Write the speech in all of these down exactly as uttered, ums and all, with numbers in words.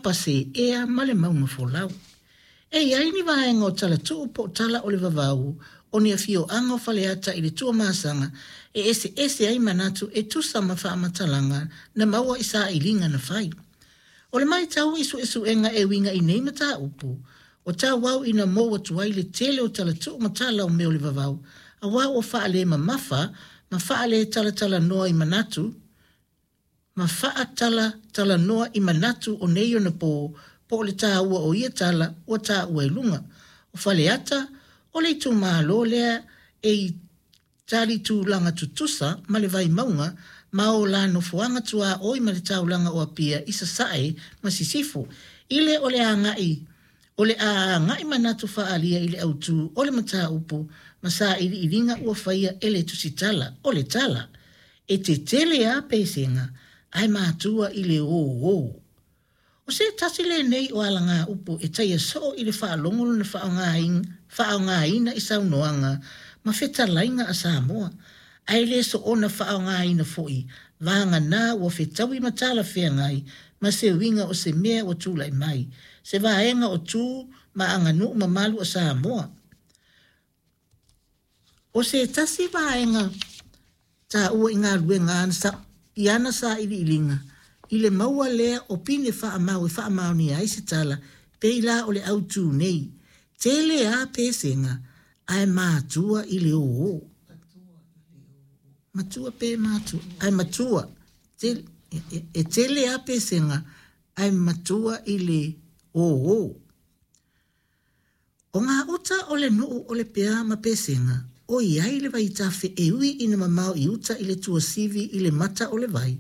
Papaseea ma le Mauga Folau. E i ai ni vaega o talatuu po o tala o le vavau o ni afioaga o Faleata i le Tuamasaga e eseese ai manatu e tusa ma faamatalaga na maua i sailiga na fai. O le matau i suesuega e uiga i nei mataupu, ua tauau ina mou atu ai le tele o talatuu ma tala o mea o le vavau, aua ua faalemamafa ma faaletalatalanoa i manatu, ma faatalatalanoa i manatu o nei ona po, po o le taua o ia tala ua taua i luga. O Faleata, o le itumalo lea e i tali tulaga tutusa ma le Vaimauga ma o la nofoaga tuaoi ma le taulaga o Apia i Sasae ma Sisifo. I le o le agai o le a agai manatu faaalia i le autu o le mataupu ma sailiiliga ua faia e le tusitala o le tala. E tetele lava pesega ae matua i le ō. O se tasi lenei o alagaupu e taia soo i le faalogo lona faaaogaina i saunoaga ma fetalaiga a Samoa, ae le soona faaaogaina foi vagana ua fetaui ma talafeagai ma se uiga o se mea ua tulai mai, se vaega o tu ma aganuu mamalu a Samoa. O se tasi vaega taua i galuega i ana sailiiliga, i le maua lea o pine faamau e faamaonia ai se tala, pei la o le autu nei, tele a pesega ae matua i le ō. Matua pe matua, ae matua, tele, e, e tele a pesega ae matua i le ō. O ngā uta o le nuu o le pea ma pesega, o iai le vaitafe e ui ina mamao i uta i le tuasivi i le mata o le vai,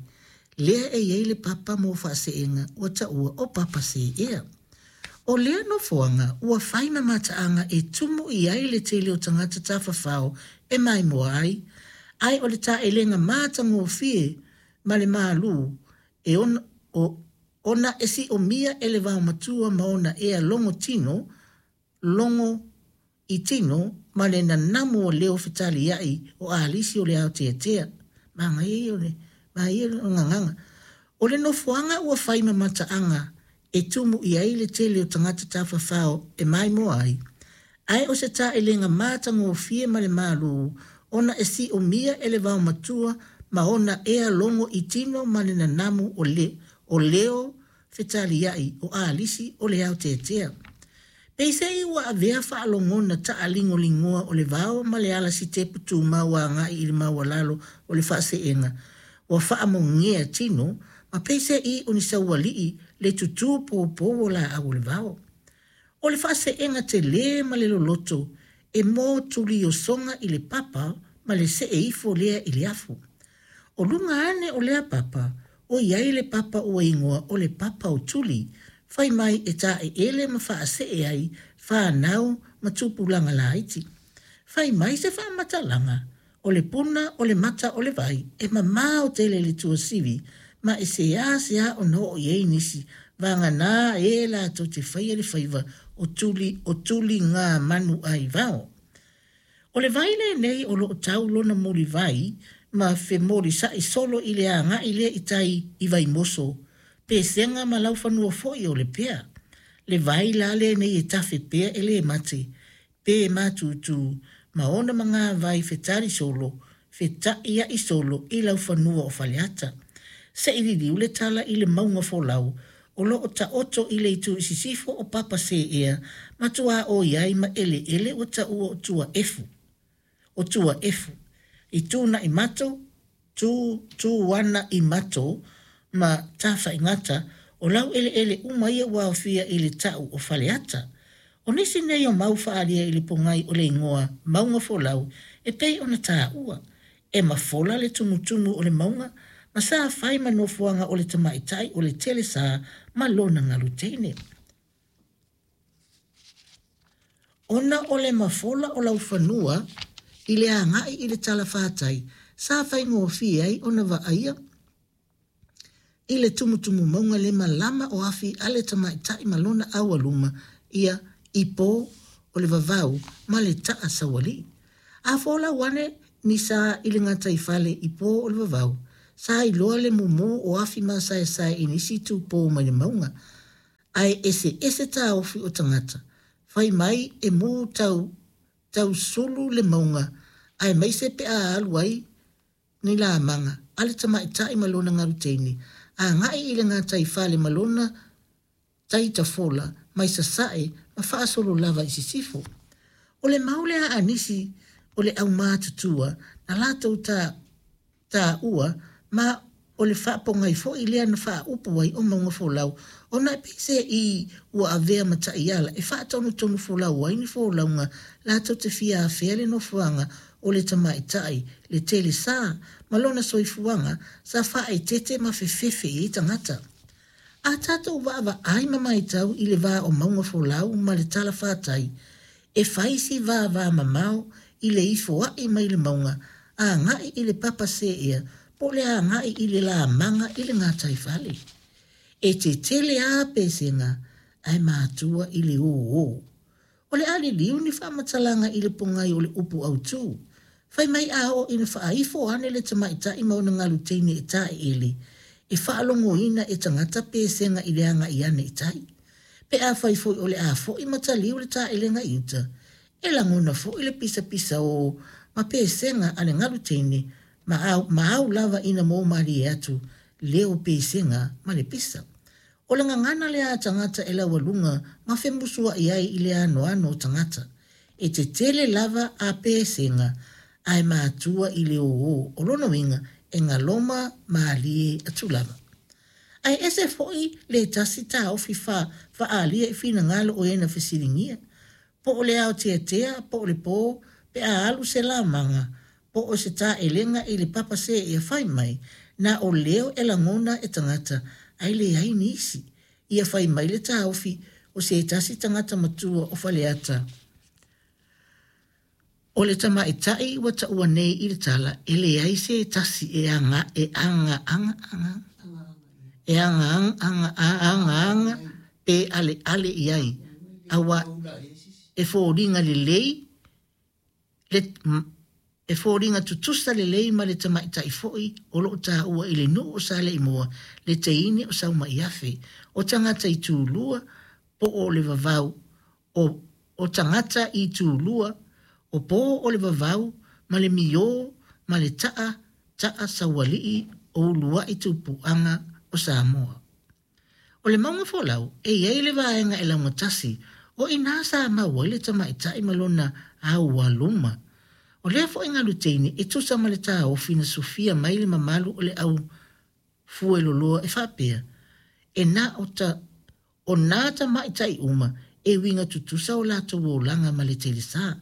lea e iai le papa mo faaseega ua taua o Papaseea. O lea nofoaga ua fai ma mataaga e tumu i ai le tele o tagata tafafao e maimoa ai, ae o le taelega matagofie ma le malu e ona, o, ona e siomia e le vaomatua ma ona ea logo tino, logo i tino ma le nanamu o leo fetaliai o alisi o le aoteatea. Manaia ia o le manaia o gagaga. O le nofoaga ua fai ma mataaga e tumu i ai le tele o tagata tafafao e maimoa ai, ae o se taelega matagofie ma le malu ona e siomia e le vaomatua ma ona ea logo i tino ma le nanamu o, le, o leo fetaliai o alisi o le aoteatea. Peisei ua avea faalogona taaligoligoa o le vao ma le ala sitepu tumau agai i le maualalo o le faaseega, ua faamogea tino, ma peisei o ni saualii le tutū poupou o laau o le vao. O le faaseega telē ma le loloto e mo tuliosoga i le papa ma le see ifo lea i le afu. O luga ane o lea papa, o iai le papa ua igoa o le papa o tuli, fai mai e taeele ma faasee ai fanau ma tupulaga laiti. Fai mai se faamatalaga, o le puna o le mata o le vai e mamao tele le tuasivi, ma e seā seā ona oo i ai nisi, vagana e latou te faia le faiva o tuli, o tuli ngā manu ai vao. O le vai lenei o loo tau lona mulivai ma femolisa'i solo i le agai lea i tai i Vaimoso, pesega ma laufanua foi o le pea. Le vai la lenei e tafe pea e le mate, pe matutu, ma ona magavai fetali solo, feta'ia'i solo i laufanua o Faleata. Se'i liliu le tala i le mauga folau, o loo taoto i le itu i sisifo o Papaseea, ma tuaoi ai ma eleele ua taua o Tuaefu. O Tuaefu, i tūna'i mato, tu, tu ana i mato, ma Tafaigata, o lau eleele uma ia ua aofia i le tau o Faleata. O nisi nei o mau faaalia i le pogai o le igoa Mauga Folau e pei ona taua, e mafola le tumutumu o le mauga, ma sa fai ma nofoaga o le tamaitai o le telesā ma lona galuteine. Ona o le mafola o laufanua i le agai i le talafatai, sa faigofie ai ona vaaia i le tumutumu mauga le malama o afi a le tamaitai ma lona aualuma ia ipo o le vavau ma le taa saualii. A folau ane ni sa i le gataifale i po o le vavau, sa iloa le mumu o afi masaesae i nisi tupō mai le mauga. Ae eseese taofi o tagata, fai mai e mū tau, tausulu le mauga, aemaise pe a alu ai ni lamaga a le tamaitai ma lona galu teine, agai i le gataifale ma lona tai tafola mai sasae ma faasolo lava i sisifo. O le mau lea a nisi o le aumatutua na latou ta, taua ma o le faapogai foi lea na faaupu ai o mauga folau, ona e peiseai ua avea ma taiala e faatonutonu folau ai ni folauga latou te fia afea le nofoaga o le tamaitai, le telesa ma lona soifuaga sa faaeteete ma fefefe i ai tagata. A tatou vaavaai ma matau i le va o mauga folau ma le talafatai, e fai si vavamamao i le ifoai mai le mauga agai i le papa seea po o le agai i le lamaga i le gataifale. E tetele lava pesega ae matua i le ō. O le a liliu ni faamatalaga i le pogai o le upu autū. Fai mai a oo ina faaifo ane le tamaitai ma ona galu teine e taeele, e faalogoina e tagata pesega i le agai ane i tai. Pe afai foi o le a foi ma taliu le taelega i uta, e lagona foi le pisapisaō ma pesega a le galu teine ma au, ma au lava ina mou malie atu leo pesega ma le pisa. O le gagana lea a tagata e laualuga ma femusuai ai i le anoano o tagata. E tetele lava a pesega ae matua i le ō, o lona uiga e galoma malie atu lava. Ae ese foi le tasi taofi fa, faaalia i finagalo o e na fesiligia. Po o le aoteatea, po o le pō, pe a alu se lamaga, po o se taelega i le papa seea fai mai, na o leo e lagona e tagata, ae leai nisi. Ia fai mai le taofi o se tasi tagata matua o Faleata. O le tamaitai ua taua nei i le tala, e leai se tasi e aga, e aga, aga, aga, e aga, aga, aga, aga, pe aleale i ai. Aua e foliga lelei, le, e foliga tutusa lelei ma le tamaitai foi o loo taua i le nuu o Saleimoa, le teine o Saumaiafe, o tagata i tulua po o le vavau, o, o tagata i tulua, o po o le vavau ma le miō ma le taa, taa saualii o uluai tupuaga o Samoa. O le mauga folau, e iai le vaega e laugatasi, o ina sa mau ai le tamaitai ma lona aualuma. O lea foi galu teine e tusa ma le taofi na sufia mai le mamalu o le au fueloloa e faapea, e na o ta, o nā tamaitai uma e uiga tutusa o latou olaga ma le telesa.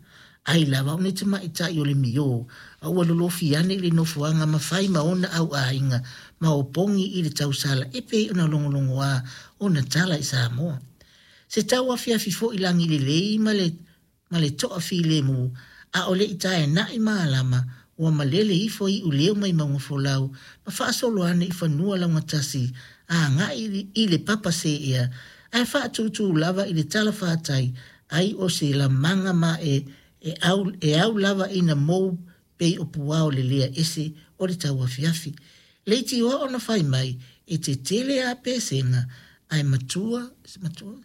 Ai lava o ni tamaitai o le miō, a ua lolofi ane i le nofoaga ma fai ma ona auaiga ma opogi i le tausala e pei ona logologoā ona tala i Samoa. Se tau afiafi foi lagi lelei ma le, ma le toafilemu, a o le i taena'i malama, ua malele ifo iuleo mai mauga folau, ma faasolo ane i fanua laugatasi, agai i le papa seea, ae faatūtū lava i le talafatai, ai o se lamaga ma e, e au, e au lava ina mou pei o puao le lea ese o le tauafiafi. Leitioa ona fai mai, e tetele a pesega, ae matua, matua,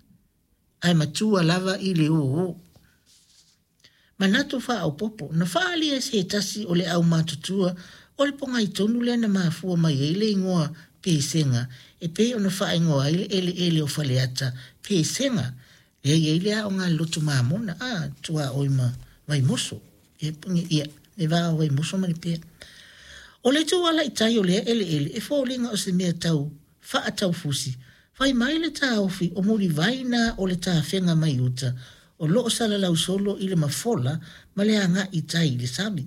ae matua lava i le ō. Manatu faaopopo, na faaalia se tasi o le aumatutua o le pogai tonu lea na mafua mai ai le igoa pesega, e pei ona faaigoa ai le eleele o Faleata, pesega, lea i ai le aoga a le loto mamona, a, tuaoi ma Vaimoso, ia, ia, le va o Vaimoso ma Lepea. O le itu ala i tai o lea eleele, e foliga o se mea tau faataufusi, fai mai le taofi o mulivai na o le tafega mai uta, o loo salalau solo i le mafola ma le agai i tai i le sami.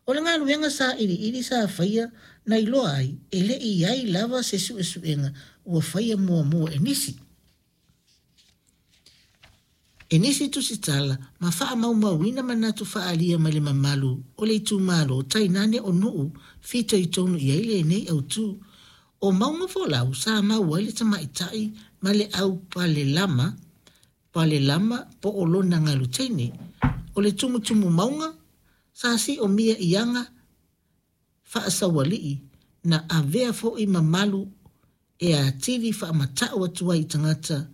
O le galuega sa iliili sa faia na iloa ai, e le i ai lava se suesuega ua faia muamua e nisi. E nisi tusitala ma faamaumauina manatu faaalia mai le mamalu o le itumalo tainane o nuu fitoitonu i ai lenei autū. O mauga folau sa mau ai le tamaitai ma le au palelama, palelama po o lona galu teine. O le tumutumu mauga sa siomia i aga faasaualii na avea foi mamalu e atili faamatau atu ai i tagata